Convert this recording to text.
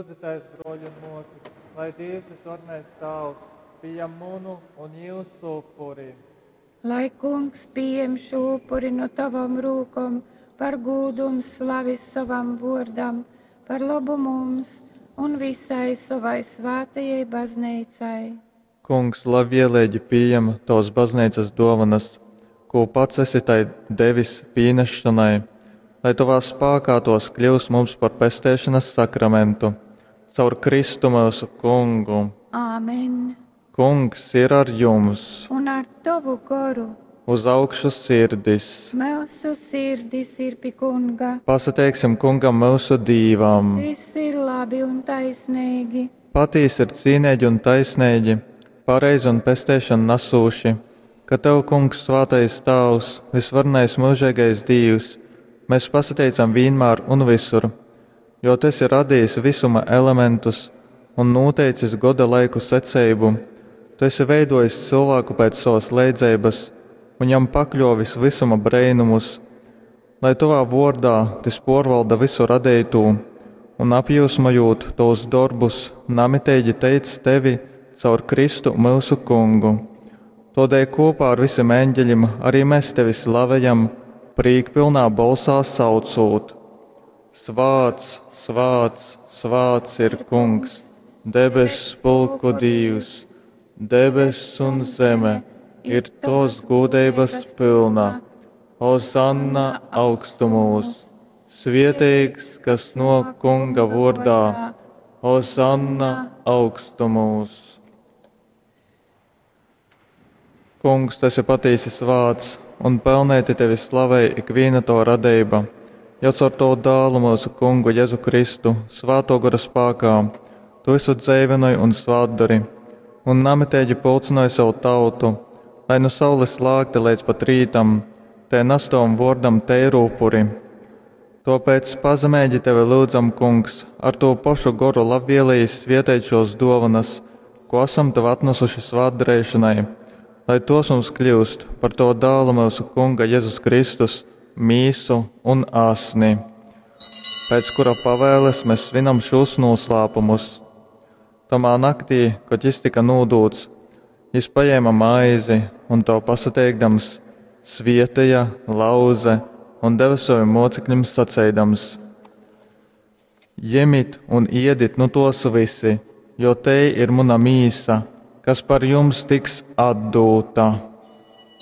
Lyudzitēs, brōļi un mōsas, lai Dīvs vysvarenais Tāvs pījam munu un jyusu upuri. Lai Kungs pījem šū upuri nu tavom rūkom par gūdu un slavi sovam vōrdam, par lobu mums un visai sovai svātajai bazneicai. Kungs labvieleigi pījem tovas bazneicas dōvonas, kū pats esi tai devis pīnesšonai, lai tovā spākā tōs kļyust mums par pesteišonas sakramentu. Caur Kristu myusu Kungu. Āmen. Kungs ir ar jums. Un ar tovu goru. Uz augšu sirdis. Myusu sirdis ir pi Kunga. Pasateiksim Kungam myusu Dīvam. Tys ir labi un taisneigi. Patīsi ir cīneigi un taisneigi, pareizi un pesteišonu nasūši, ka tev, Kungs, svātais Tāvs, vysvarenais myužeigais Dīvs, mēs pasateicam vīnmār un vysur, jo tu esi radījis vysuma elementus un nūteicis goda laiku seceibu. Tu esi veidojis cylvāku pēc sovas leidzeibas un jam pakļōvis vysuma breinumus, lai tovā vōrdā tys pōrvalda vysu radeitū un, apjyusmojūt tovus dorbus, namiteigi teic tevi caur Kristu myusu Kungu. Tōdēļ kūpā ar visim eņģeļim arī mes tevi slavejam, prīkpylnā bolsā saucūt: Svāts, svāts, svāts ir Kungs, debess pulku Dīvs, debess un zeme ir tovas gūdeibas pylna. Hozanna augstumūs! Svieteigs, kas nōk Kunga vōrdā, Hozanna augstumūs! Kungs, tu esi patīsi svāts, un pelnēti tevi slavej ikvīna tava radeiba, jo caur tavu dālu mūsu Kungu Jezu Kristu, svātō gora spākā, tu visu dzeivynoj un svātdori, un namiteigi pulcynoj savu tautu, lai nu saules lākta līdz pat rītam, te nas tavam vōrdam teiru upuri. Tōpēc pazemeigi tevi lyudzam, Kungs, ar tū pošu goru labvēlīgi svieteit šos dōvanas, ko esam tev atnesuši svātdareišanai, lai tos mums kļūst par to dālu myusu Kunga Jezus Kristus mīsu un asni, pēc kura pavēles mēs svinam šos noslēpumus. Tamā naktī, kad jis tika nūdūts, jis paņēma maizi un to pasateikdams, svieteja, lauze un deva saviem mocekļiem saceidams: Jemit un iedit nu tos visi, jo te ir muna mīsa, kas par jums tiks atdūta.